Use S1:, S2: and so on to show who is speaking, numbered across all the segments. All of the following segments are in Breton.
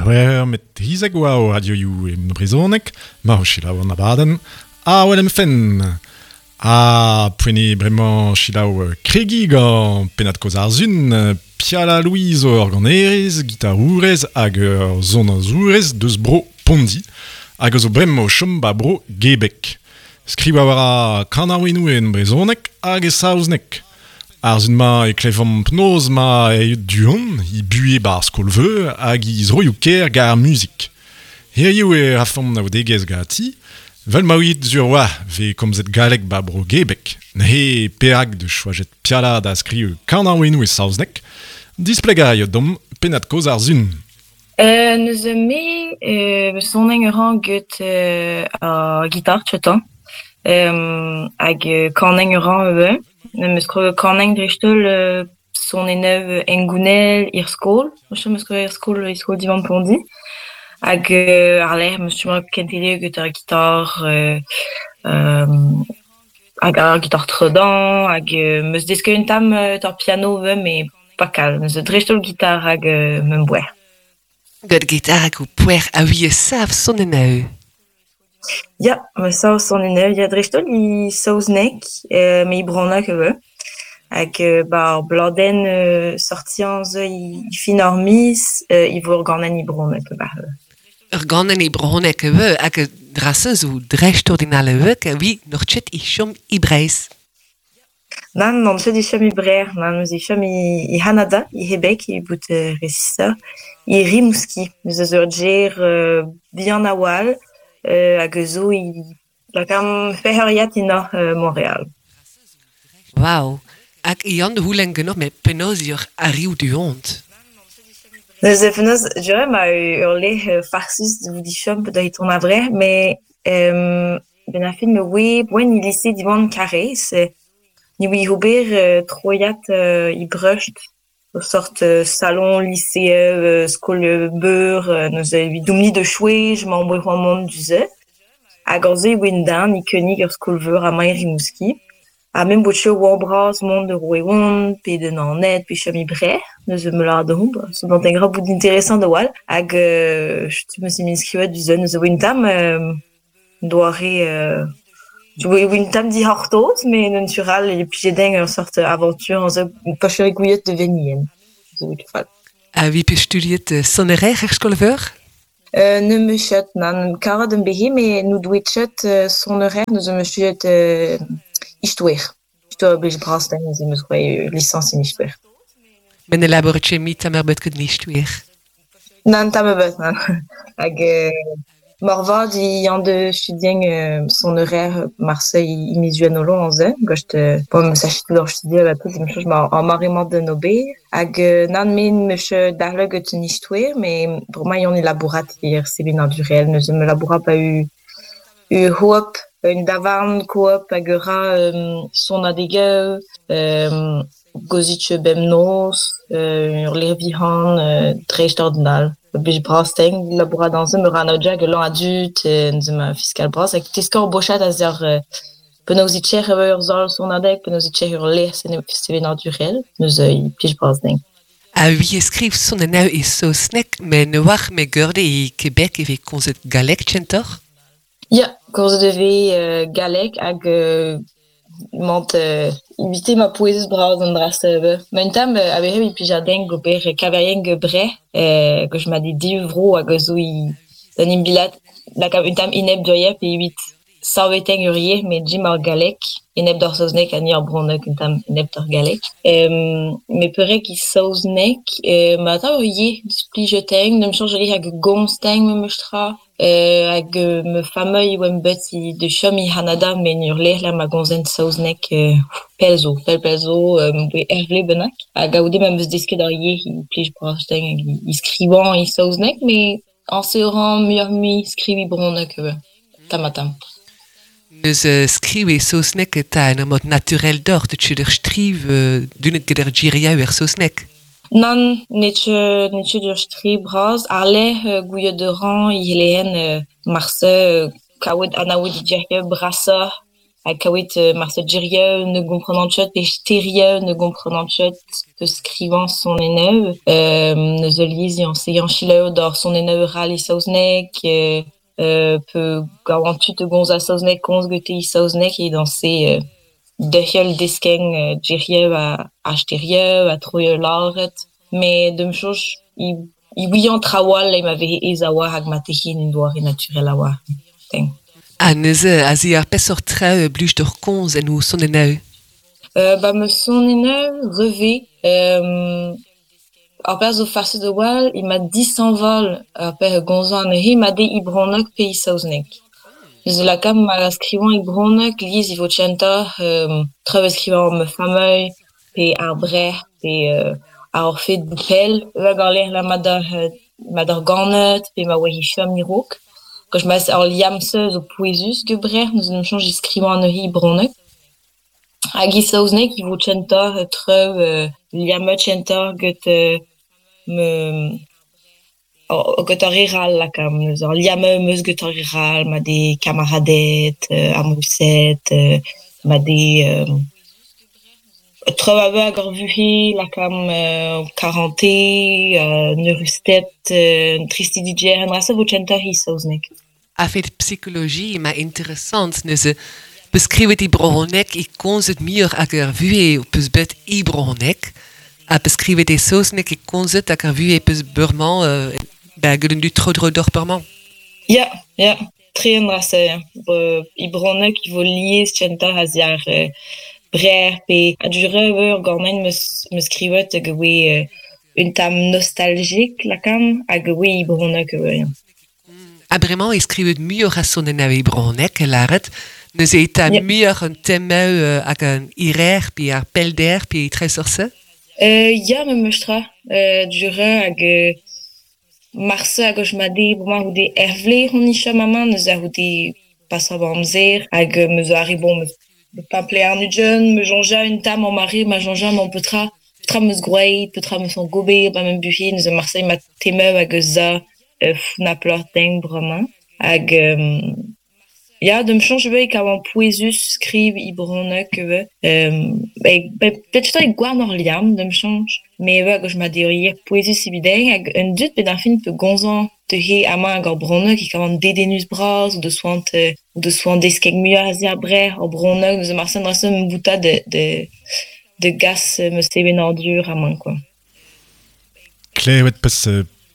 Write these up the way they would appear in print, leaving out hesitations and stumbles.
S1: C'hwec'h met 13 oa o radioioù e brezhoneg, ma o selaou an abadenn Awel em fenn. Ha poent eo bremañ selaou kregiñ gant pennad-kaoz ar Sun, Piala Louis zo ur ganerez, gitarourez hag ur sonaozourez deus bro Pondi hag a zo bremañ o chom ba bro Gebek. Skrivañ a ra kanaouennoù en brezhoneg hag e saozneg. Ar sun-mañ e klevomp penaos 'ma aet du-hont, he buhez 'ba ar skol-veur hag he zroioù-kaer gant ar muzik. Hiziv e rafomp naoudegezh ganti, 'vel ma ouiit sur 'oa 'vez komzet galleg 'ba bro Gebek. Neuze perak 'deus choajet Piala da skriv kanaouennoù e saozneg? Displegañ a raio deomp pennad-kaoz ar sun.
S2: Neuze me sonenn a ran get ar gitar tchetañ hag kanenn a ran ivez. Me'm eus kroget kanenn dreist-holl sonennoù hengounel er skol. 'Meus kroget er skol e skol Diwan Pondi. Hag àr-lerc'h 'm eus chomet kentelioù get ar gitar hag ar gitar tredan hag 'm eus desket un tamm ar piano ivez met pas kalz. Neuze dreist-holl gitar hag ma boer.
S3: Gant gitar hag ho poer a ouie sav sonennoù.
S2: Ya, ma sav sonennoù ya dreist-holl e saozneg met e brezhoneg ivez. Hag 'ba ar bladenn sortiañ zo e fin ar miz e vo ur ganenn e brezhoneg ivez.
S3: Ur ganenn e brezhoneg ivez hag dra-se zo dreistordinal ivez evit n'oc'h ket e chom e Breizh.
S2: Nann, n'on ket e chom e Breizh, nann, eus e chom e C'hanada, e C'hebek evit bout resisoc'h, e Rimouski. Eus eus ur gêr bihan a-walc'h hag eus zo e lakaomp c'hwec'heuriad e norzh Montreal.
S3: Wav! Hag Yann c'houlenn ganeoc'h met penaos eo arriv du-hont?
S2: Neuze penaos, je ma ur lec'h farsus vout e chom da tont a-vrec'h, met Benn ar fin me oe poent e lise Diwan Karaez. Ne oe ober troiad e Brest, ur sort salon lise skol-veur neuze evidomp-ni da chwech 'maomp o c'hoant mont du-se. Hag aze e oan den e König ur skol-veur amañ e Rimouski. Ha me 'm boa tro oa bras mont da Roeon pe da Naoned pe chom e Breizh. Neuze me lâr deomp, seblant gra bout interesant a-walc'h. Hag setu 'm eus em enskrivet du-se neuze oa un tamm Doare un tamm dic'hortoz met naturel e plije din ur seurt avantur aze pa gouiet da venien.
S3: Ha vi pe studiet sonerezh er skol-veur?
S2: Ne 'm eus ket, nann. Karet am behe met n'o doe ket sonerezh, neuze 'm eus studiet istoer. Istoer blij bras din neuze 'm eus roet lisañs en istoer.
S3: Met ne labouret ket mui tamm ebet gant istoer?
S2: Nann, tamm ebet, nann. Hag moarvat e an da studiañ sonerezh marse e miz Gwenholon aze, gant bon me sach ket studiañ bepred 'm soñj 'ma ar mare-mañ d'en ober. Hag nann, me 'm eus dalc'het gant an istoer met bremañ eo on e labourat er sevenadurel neuze me labourat pa ur c'hoop, un davarn coop hag a ra sonadegoù, Gozik bemnoz, ur lec'h vihan dreistordinal. Blij bras-teñ labourat aze meur a anaoudegezh hag a dud neuze ma fiskal bras hag teskañ ur bochad a-ziàr penaos e tec'h ur sal sonadeg, penaos e tec'h ur lec'h sevenadurel. Neuze e plij bras din.
S3: Ha vi e skriv sonennoù e saozneg met ne oar me geurde e Quebec e vez komzet galleg kentoc'h?
S2: Ya, komzet e vez galleg hag emañ evite ma pouezus-bras an dra-se ivez. Ma un tamm a-wechoù e plij din gober kaverien Breizh gant ma div vro hag a zo un imbilad lakaat un tamm enep d'ur pe evit saveteñ ur yezh met dimp ar galleg enep d'ar saozneg ha ni ar bronneg un tamm enep d'ar galleg. Met perak e saozneg ma atav ur yezh displijet-eñ n'em soñj hag gomz-eñ memes tra. Hag ma familh oa bet da chom e C'hanada met en ur lec'h lec'h ma gomzent saozneg pell zo, pell pell zo, ur vloaz bennak. Hag goude ma 'm eus desket ar yezh e plij bras din e skrivañ e saozneg met añse a ran muioc'h-mui skriviñ brezhoneg ivez, tamm-ha-tamm.
S3: Neuze skriv e saozneg eta en ur mod naturel deoc'h, deut ur striv dunet get ar giriaou er saozneg?
S2: Nann, n'eo ket n'eo ket ur striv bras. Àr-lerc'h gouiet a ran e c'hellehen marse kaout anaout brasoc'h. Ha kaouet marse gerioù ne gomprenan ket pe sterioù ne gomprenan ket pe skrivañ sonennoù. Neuze lies yañ se selaou d'ar sonennoù ral e saozneg pe gawan tud da gomz a saozneg komz gete e saozneg e dañse derc'hel deskeñ gerioù ha sterioù ha troioù lâret. Met d'am soñj e ouian traoù all ma vehe aes a-walc'h hag ma tehe un doare naturel a-walc'h.
S3: Ha neuze aze ar peseurt traoù blij deoc'h komz en ho sonennoù?
S2: Ba ma sonennoù revez ar pezh zo farset a-walc'h emañ dishañval ar pezh a gomzan anezhe ma dez e brezhoneg pe e saozneg. Neuze lakaat ma skrivañ e brezhoneg lies e vo kentoc'h traoù a skrivañ ma familh pe ar brec'h pe ar fed bout pell hag ar lec'h ma doc'h ganet pe ma oa he chom a-raok. Gant ma ar liamm-se zo pouezus get brec'h neuze 'm soñj e skrivañ anezhe e brezhoneg. Hag e saozneg e vo kentoc'h traoù liammet kentoc'h get ma get ar re 'rall lakaomp neuze ar liamm am eus get ar re 'rall ma dez kamaraded, amourused, ma dez traoù a veur hag ar vuhez lakaomp karantez, eürusted, tristidigezh an dra-se vo kentoc'h e saozneg.
S3: A-fet psikoloji emañ interessant neuze beskrivet e brezhoneg e komzet muioc'h hag ar vuhez ho peus bet e brezhoneg ha beskrivet e saozneg e komzet hag ar vuhez peus bremañ ba get an dud tro-dro deoc'h bremañ.
S2: Ya, ya, tre an dra-se ya. E brezhoneg e vo lies kentoc'h a-ziàr brec'h pe a-du-reur ganin 'm eus skrivet hag e oe un tamm nostalgique lakaomp hag e oe e brezhoneg ivez ya.
S3: Ha bremañ e skrivet muioc'h a sonennoù e brezhoneg lâret. Neuze e ta muioc'h an temoù hag an hiraer pe ar pellder pe traoù-seurt-se?
S2: Ya memes tra. Du-reur hag marse hag eus ma dez bremañ goude Hervle hon e chom amañ neuze a-c'houde pasañ amzer hag me zo arri bon pemp arnugent me soñja un tamm am mare ma soñja mañ petra petra 'm eus gwraet petra 'm eus gober ba ma buhez neuze marse ma temoù hag eus za founaploc'h din bremañ hag ya d'am soñj ivez e kavan pouezus skriv e brezhoneg ivez petra eo gwarn ur liamm d'am soñj met ivez hag ma dezhi pouezus evit dezhi hag un dud bet ar fin pe gomzañ dezhe amañ hag ar brezhoneg e kavan dedennus-bras o deus c'hoant o deus c'hoant deskiñ muioc'h a-ziàr brec'h ar brezhoneg neuze marse an dra-se 'm boutañ da gas ma sevenadur amañ kwa.
S1: Klevet 'peus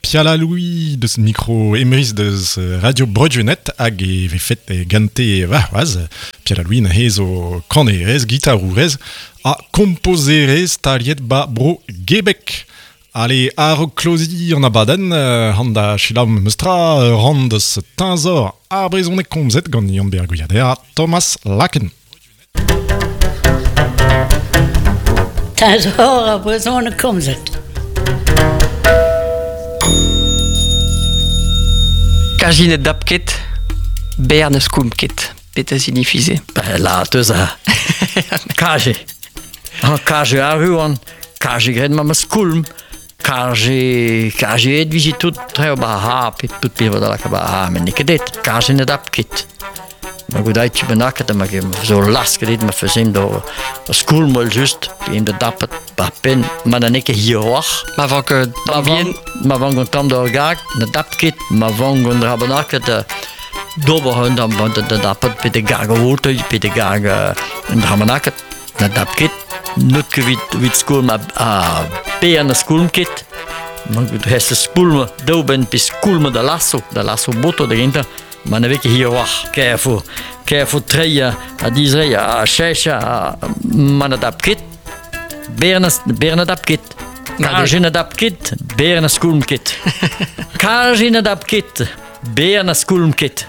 S1: Piala Louis deus mikro Emrys deus Radio Bro-Gwened hag e vefet gante warc'hoazh. Piala Louis neuze zo kanerez, gitarourez ha kompozerez staliet ba Bro Gebek. Ale, a-raok kloziñ an abadenn, han da selaou memes tra ran deus teñzor ar brezhoneg komzet gant Yann-Ber Gwiader ha Thomas Laken.
S4: Teñzor ar brezhoneg komzet.
S5: Kazi ne dap ket, berr ne skoulm ket. Petra signifie se?
S6: Ben, la teus a kaje. Ha kaje arru an, kaje graet ma ma skoulm, kaje, kaje et vije tout treo ba ha, pet tout pe da laka ba ha, met n'eo ket et, kaje ne dap ket. Ma gout tu bennaket ma zo lasket dit ma faisem do skoulm wel just, pe in da dapet ba pen, ma da n'eo ket hiroc'h.
S5: Ma vank
S6: Ma
S5: bien.
S6: Ma vank an tamm d'ur gag, na dap ket, ma vank an dra bennaket d'ober un tamm da dapet pe de gag o pe de gag un dra bennaket, na dap ket, n'eut ket vit skoulm a pe an a skoulm ket. Ma gout hest skoulm daou ben pe skoulm da lasso, da lasso boto da gentañ. Ma ne vez ket hiroc'h, kaer fo treiñ ha dizreiñ ha cheñch ma na dap ket, ber na dap ket. Kaje na dap ket, ber na skoulm ket. Kaje na dap ket, ber na skoulm ket.